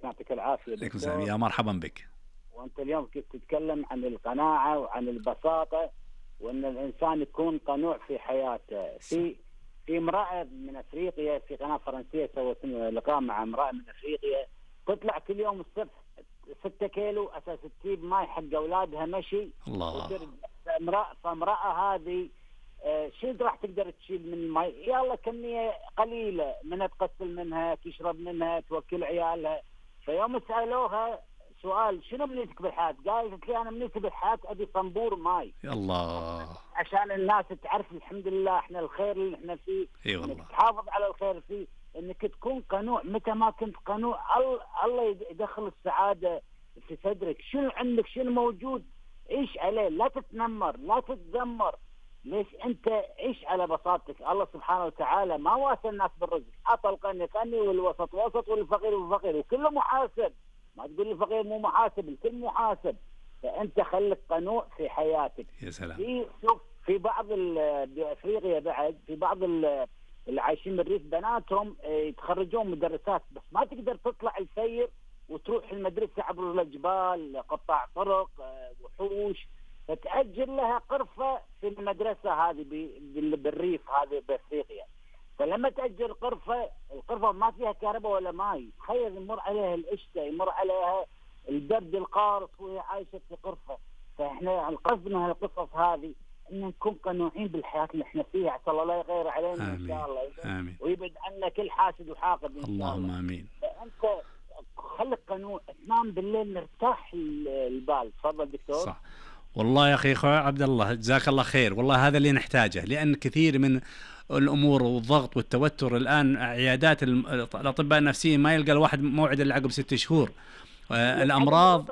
يعطيك العافية عليكم السلام، دكتور. يا مرحبا بك. وأنت اليوم كنت تتكلم عن القناعة وعن البساطة، وأن الإنسان يكون قنوع في حياته. في امرأة من أفريقيا في قناة فرنسية سوت لقاء مع امرأة من أفريقيا، تطلع كل يوم الصبح 6 كيلو أساس تجيب ماي حق أولادها مشي. الله. فامرأة هذه شو راح تقدر تشيل من الماء؟ يلا كمية قليلة منها، تغسل منها، تشرب منها، توكل عيالها. فيوم سألوها سؤال شنو بنيتك بالحياة؟ قالت لي أنا بنيتي بالحياة أبي صنبور ماي. يا الله. عشان الناس تعرف الحمد لله احنا الخير اللي احنا فيه، والله. تحافظ على الخير فيه، انك تكون قنوع. متى ما كنت قنوع الله يدخل السعادة في صدرك. شنو عندك، شنو موجود عيش عليه، لا تتنمر، لا تتذمر. ليش؟ انت عيش على بساطتك. الله سبحانه وتعالى ما واسى الناس بالرزق، اعطى الغني غني والوسط وسط والفقير فقير، وكله محاسب. ما تقول لي فقير مو محاسب، الكل محاسب. فانت خليك قنوع في حياتك. يا سلام. في بعض بافريقيا بعد في بعض اللي عايشين بالريف بناتهم يتخرجون مدرسات، بس ما تقدر تطلع السير وتروح المدرسة عبر الجبال، قطاع طرق، وحوش، فتأجر لها قرفة في المدرسة هذه بالريف هذه بأفريقيا. فلما تأجر القرفة ما فيها كهرباء ولا ماء، تخيل يمر عليها الشتاء، يمر عليها البرد القارص وهي عايشة في قرفة. فإحنا القصد من هالقصص هذه إن نكون قنوعين بالحياة اللي إحنا فيها، عسى الله لا يغير علينا. آمين. إن شاء الله. آمين. ويبعد عنا كل حاسد وحاقد إن شاء الله. اللهم آمين. فأنت خليك قنوع، تنام بالليل مرتاح البال. تفضل دكتور. صح والله يا أخي عبد الله، جزاك الله خير. والله هذا اللي نحتاجه، لأن كثير من الأمور والضغط والتوتر الآن، عيادات الأطباء النفسيين ما يلقى الواحد موعد إلا عقب 6 شهور. الأمراض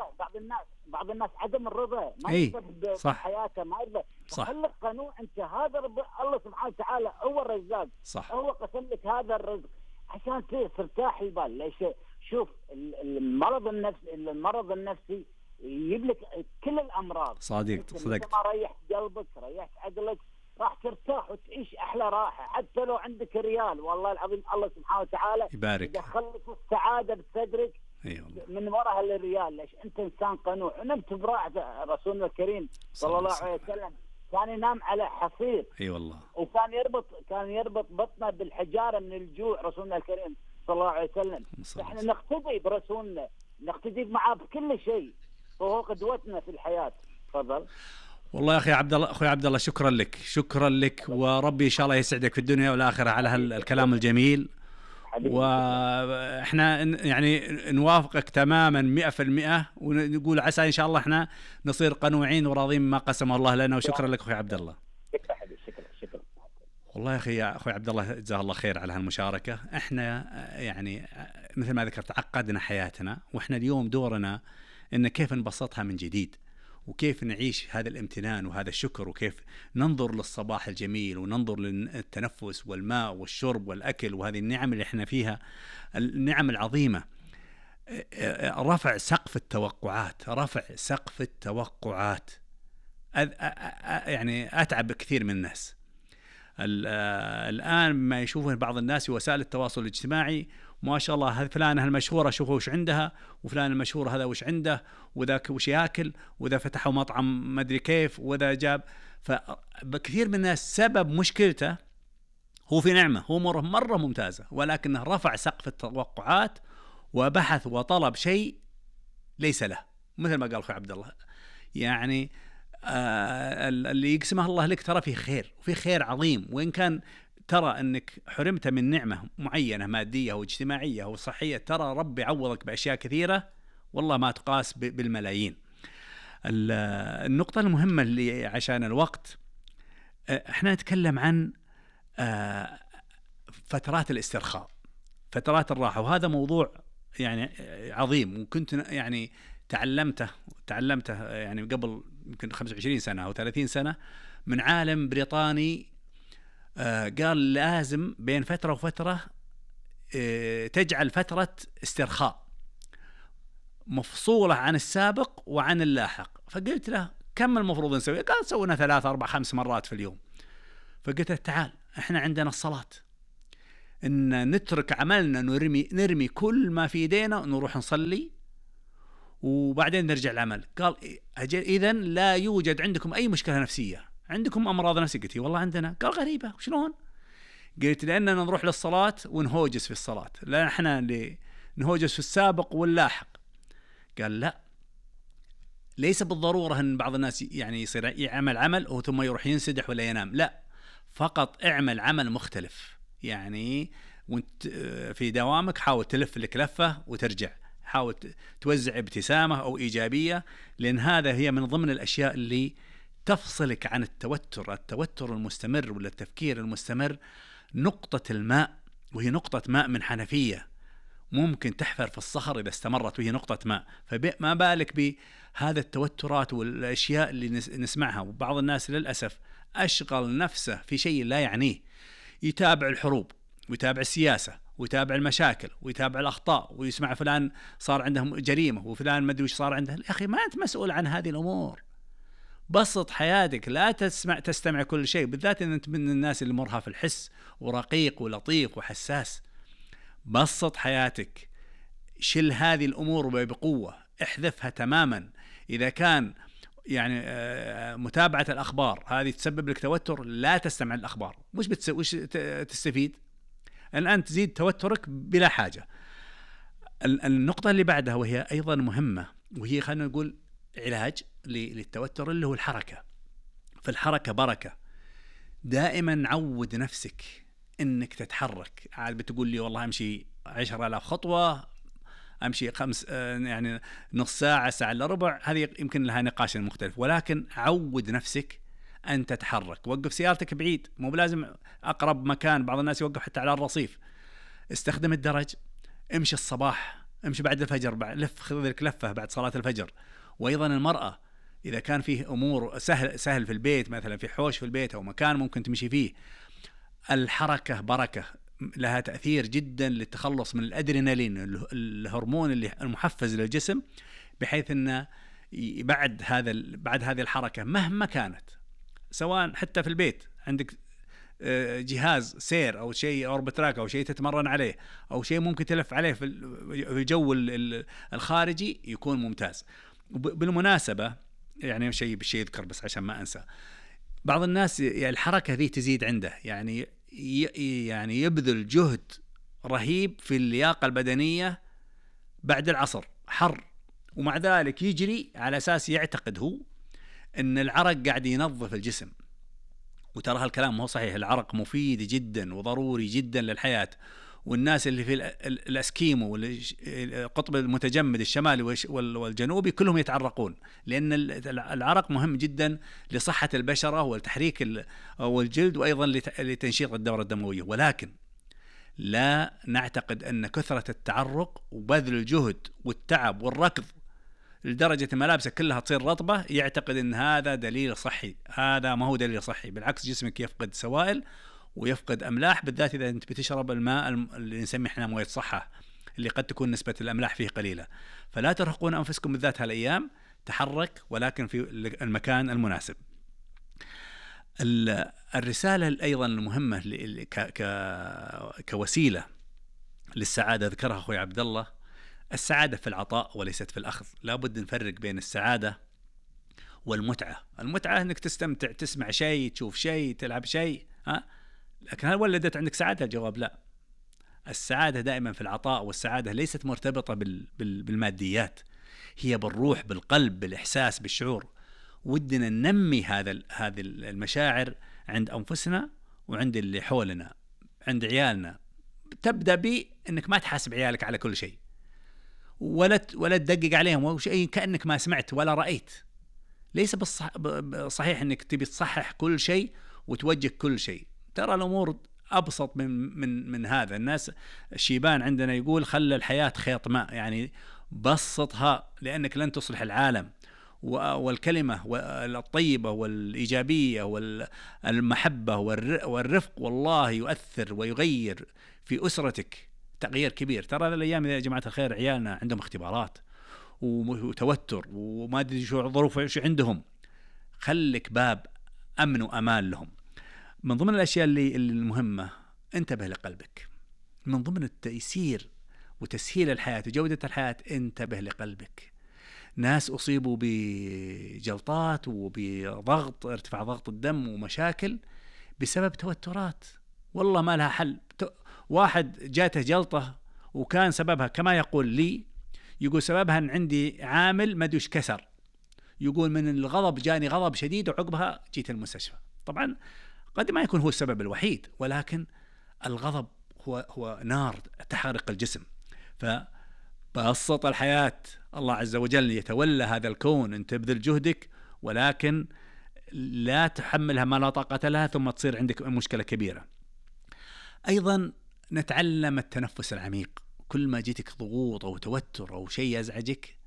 بعض الناس عدم الرضا، ما يرضى بحياته، ما يرضى. خليك قنوع انت. هذا الله سبحانه وتعالى هو الرزاق. صح. هو قسم لك هذا الرزق عشان ترتاح البال. ليش؟ شوف المرض النفسي يجيب لك كل الامراض. صدقت. ما ريحت قلبك، ريحت عقلك، راح ترتاح وتعيش احلى راحه. حتى لو عندك ريال، والله العظيم الله سبحانه وتعالى يبارك، يدخل لك السعاده بصدرك. أيوة. من وراء الريال. ليش؟ انت انسان قنوع. نمت براحه. رسولنا الكريم صلى الله عليه وسلم كان ينام على حصير. اي والله. وكان يربط بطنه بالحجاره من الجوع. رسولنا الكريم صلى الله عليه وسلم. احنا نقتدي برسولنا، نقتدي معاه بكل شيء، وهو قدوتنا في الحياه. تفضل. والله يا اخي اخوي عبد الله، شكرا لك وربي ان شاء الله يسعدك في الدنيا والاخره على هالكلام الجميل. واحنا يعني نوافقك تماما 100%، ونقول عسى ان شاء الله احنا نصير قنوعين وراضين ما قسمه الله لنا. وشكرا لك اخوي عبد الله. شكرا. والله يا اخوي عبد الله، جزاه الله خير على هالمشاركه. احنا يعني مثل ما ذكرت عقدنا حياتنا، واحنا اليوم دورنا ان كيف نبسطها من جديد، وكيف نعيش هذا الامتنان وهذا الشكر، وكيف ننظر للصباح الجميل، وننظر للتنفس والماء والشرب والأكل، وهذه النعم اللي احنا فيها، النعم العظيمة. رفع سقف التوقعات يعني أتعب كثير من الناس الآن ما يشوفون بعض الناس في وسائل التواصل الاجتماعي، ما شاء الله هذه فلانة المشهورة شوفوا وش عندها، وفلان المشهور هذا وش عنده، وذاك وش ياكل، وذا فتحوا مطعم ما ادري كيف، وذا جاب. فكثير من الناس سبب مشكلته هو في نعمة، هو مرة ممتازة، ولكنه رفع سقف التوقعات وبحث وطلب شيء ليس له. مثل ما قال أخوي عبد الله، يعني اللي يقسمه الله لك ترى فيه خير، وفي خير عظيم. وإن كان ترى أنك حرمت من نعمة معينة مادية واجتماعية وصحية، ترى ربي عوضك بأشياء كثيرة والله ما تقاس بالملايين. النقطة المهمة اللي عشان الوقت، احنا نتكلم عن فترات الاسترخاء، فترات الراحة، وهذا موضوع يعني عظيم، وكنت يعني تعلمته يعني قبل يمكن 25 سنة أو 30 سنة من عالم بريطاني. قال لازم بين فترة وفترة تجعل فترة استرخاء مفصولة عن السابق وعن اللاحق. فقلت له كم المفروض نسوي؟ قال سوينا 3 4 5 مرات في اليوم. فقلت له تعال، احنا عندنا الصلاة، ان نترك عملنا، نرمي كل ما في ايدينا، نروح نصلي وبعدين نرجع العمل. قال اذا لا يوجد عندكم اي مشكله نفسيه، عندكم امراض نفسيه؟ قلت والله عندنا. قال غريبه، شلون؟ قلت لاننا نروح للصلاه ونهوجس في الصلاه، لا احنا اللي نهوجس في السابق واللاحق. قال لا، ليس بالضروره ان بعض الناس يعني يصير يعمل عمل ثم يروح ينسدح ولا ينام، لا، فقط اعمل عمل مختلف. يعني وانت في دوامك حاول تلف لك لفه وترجع، حاول توزع ابتسامه او ايجابيه، لان هذا هي من ضمن الاشياء اللي تفصلك عن التوتر المستمر ولا التفكير المستمر. نقطه الماء، وهي نقطه ماء من حنفيه، ممكن تحفر في الصخر إذا استمرت وهي نقطة ماء. فما بالك بهذا التوترات والأشياء اللي نسمعها. وبعض الناس للأسف أشغل نفسه في شيء لا يعنيه، يتابع الحروب ويتابع السياسة ويتابع المشاكل ويتابع الأخطاء، ويسمع فلان صار عندهم جريمة وفلان ما أدري وش صار عنده. يا أخي ما أنت مسؤول عن هذه الأمور، بسط حياتك، لا تستمع كل شيء، بالذات إن أنت من الناس اللي مرها في الحس ورقيق ولطيف وحساس. بسط حياتك، شل هذه الأمور بقوة، احذفها تماما. إذا كان يعني متابعة الأخبار هذه تسبب لك توتر، لا تستمع الأخبار. وش تستفيد؟ الآن تزيد توترك بلا حاجة. النقطة اللي بعدها وهي أيضا مهمة، وهي خلينا نقول علاج للتوتر، اللي هو الحركة. فالحركة بركة. دائما عود نفسك انك تتحرك. عاد بتقول لي والله امشي 10,000 خطوة، امشي 5 يعني نص ساعة، ساعة الا ربع، هذه يمكن لها نقاش مختلف، ولكن عود نفسك ان تتحرك. وقف سيارتك بعيد، مو بلازم اقرب مكان، بعض الناس يوقف حتى على الرصيف. استخدم الدرج، امشي الصباح، امشي بعد الفجر، لف، خذ لك لفة بعد صلاة الفجر. وايضا المرأة اذا كان فيه امور سهل في البيت، مثلا في حوش في البيت او مكان ممكن تمشي فيه، الحركة بركة، لها تأثير جدا للتخلص من الأدرينالين، الهرمون اللي المحفز للجسم، بحيث أنه بعد هذه الحركة مهما كانت، سواء حتى في البيت عندك جهاز سير أو شيء أوربتراك أو شيء تتمرن عليه أو شيء ممكن تلف عليه في الجو الخارجي، يكون ممتاز. بالمناسبة يعني شيء يذكر بس عشان ما أنسى، بعض الناس الحركة ذي تزيد عنده، يعني يبذل جهد رهيب في اللياقة البدنية بعد العصر حر، ومع ذلك يجري على أساس يعتقد هو أن العرق قاعد ينظف الجسم. وترى هالكلام مو صحيح. العرق مفيد جدا وضروري جدا للحياة. والناس اللي في الاسكيمو والقطب المتجمد الشمالي والجنوبي كلهم يتعرقون، لأن العرق مهم جدا لصحة البشرة والتحريك والجلد، وأيضا لتنشيط الدورة الدموية. ولكن لا نعتقد أن كثرة التعرق وبذل الجهد والتعب والركض لدرجة ملابسك كلها تصير رطبة يعتقد أن هذا دليل صحي. هذا ما هو دليل صحي، بالعكس جسمك يفقد سوائل ويفقد أملاح، بالذات إذا أنت بتشرب الماء اللي نسميه إحنا موية صحة، اللي قد تكون نسبة الأملاح فيه قليلة. فلا ترهقون أنفسكم بالذات هالأيام، تحرك ولكن في المكان المناسب. الرسالة أيضا المهمة كوسيلة للسعادة ذكرها أخوي عبد الله، السعادة في العطاء وليست في الأخذ. لابد نفرق بين السعادة والمتعة. المتعة أنك تستمتع، تسمع شيء، تشوف شيء، تلعب شيء، لكن هل ولدت عندك سعادة؟ الجواب لا. السعادة دائما في العطاء، والسعادة ليست مرتبطة بالماديات، هي بالروح، بالقلب، بالإحساس، بالشعور. ودنا ننمي هذه المشاعر عند أنفسنا وعند اللي حولنا، عند عيالنا. تبدأ بأنك ما تحاسب عيالك على كل شيء، ولا تدقق عليهم وشيء كأنك ما سمعت ولا رأيت. ليس صحيح أنك تبي تصحح كل شيء وتوجه كل شيء. ترى الأمور أبسط من هذا. الناس الشيبان عندنا يقول خلى الحياة خيط ماء، يعني بسطها، لأنك لن تصلح العالم. والكلمة الطيبة والإيجابية والمحبة والرفق والله يؤثر ويغير في أسرتك تغيير كبير. ترى الأيام يا جماعة الخير عيالنا عندهم اختبارات وتوتر وما أدري شو ظروف شو عندهم، خلك باب أمن وأمان لهم. من ضمن الأشياء اللي المهمة، انتبه لقلبك. من ضمن التيسير وتسهيل الحياة وجودة الحياة، انتبه لقلبك. ناس أصيبوا بجلطات وبضغط، ارتفاع ضغط الدم ومشاكل بسبب توترات، والله ما لها حل. واحد جاته جلطة وكان سببها كما يقول لي، يقول سببها أن عندي عامل مدوش كسر، يقول من الغضب جاني غضب شديد وعقبها جيت المستشفى. طبعا قد ما يكون هو السبب الوحيد، ولكن الغضب هو نار تحرق الجسم. فبسط الحياة، الله عز وجل يتولى هذا الكون، انت تبذل جهدك ولكن لا تحملها ما لا طاقة لها ثم تصير عندك مشكلة كبيرة. أيضا نتعلم التنفس العميق. كل ما جيتك ضغوط أو توتر أو شيء يزعجك،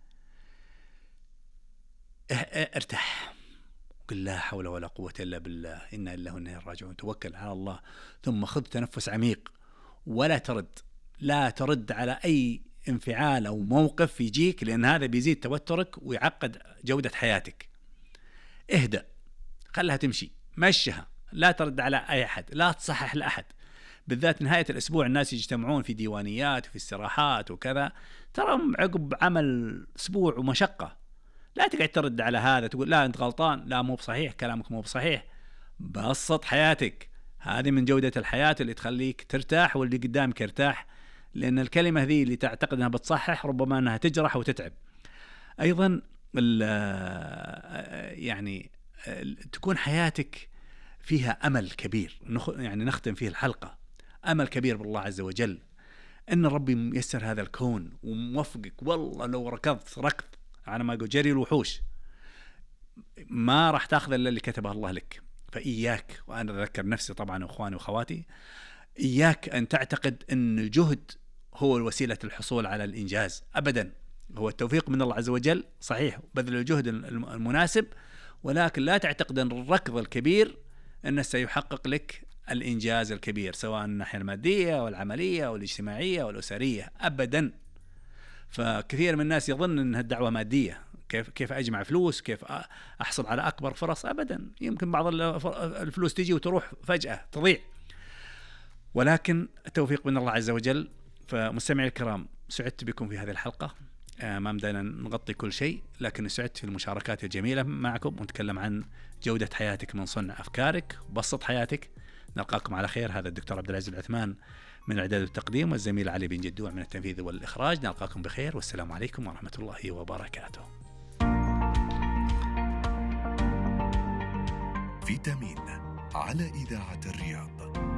ارتاح، قل لا حول ولا قوة إلا بالله، إنا لله وإنا إليه راجعون، توكل على الله، ثم خذ تنفس عميق ولا ترد، لا ترد على أي انفعال أو موقف يجيك، لأن هذا بيزيد توترك ويعقد جودة حياتك. اهدأ، خلها تمشي، مشها، لا ترد على أي أحد، لا تصحح لأحد. بالذات نهاية الأسبوع الناس يجتمعون في ديوانيات وفي استراحات وكذا، ترى عقب عمل أسبوع ومشقة، لا تقعد ترد على هذا تقول لا أنت غلطان، لا مو بصحيح، كلامك مو بصحيح. بسط حياتك، هذه من جودة الحياة اللي تخليك ترتاح واللي قدامك يرتاح، لأن الكلمة ذي اللي تعتقد أنها بتصحح ربما أنها تجرح وتتعب. أيضا يعني تكون حياتك فيها أمل كبير، يعني نختم فيه الحلقة، أمل كبير بالله عز وجل، إن ربي ميسر هذا الكون وموفقك. والله لو ركضت ركض أنا ما أقول جري الوحوش، ما راح تأخذ إلا اللي كتبه الله لك. فإياك، وأنا أذكر نفسي طبعا وأخواني وأخواتي، إياك أن تعتقد أن الجهد هو الوسيلة الحصول على الإنجاز أبدا. هو التوفيق من الله عز وجل صحيح، بذل الجهد المناسب، ولكن لا تعتقد أن الركض الكبير أنه سيحقق لك الإنجاز الكبير، سواء الناحية المادية والعملية والاجتماعية والأسرية، أبدا. فكثير من الناس يظن أن الدعوة مادية، كيف أجمع فلوس، كيف أحصل على أكبر فرص. أبدا، يمكن بعض الفلوس تجي وتروح فجأة تضيع، ولكن التوفيق من الله عز وجل. فمستمعي الكرام، سعدت بكم في هذه الحلقة، ما بدنا نغطي كل شيء، لكن سعدت في المشاركات الجميلة معكم، ونتكلم عن جودة حياتك من صنع أفكارك وبسط حياتك. نلقاكم على خير. هذا الدكتور عبد العزيز العثمان من الإعداد والتقديم، والزميل علي بن جدوع من التنفيذ والإخراج. نلقاكم بخير، والسلام عليكم ورحمة الله وبركاته. فيتامين على إذاعة الرياض.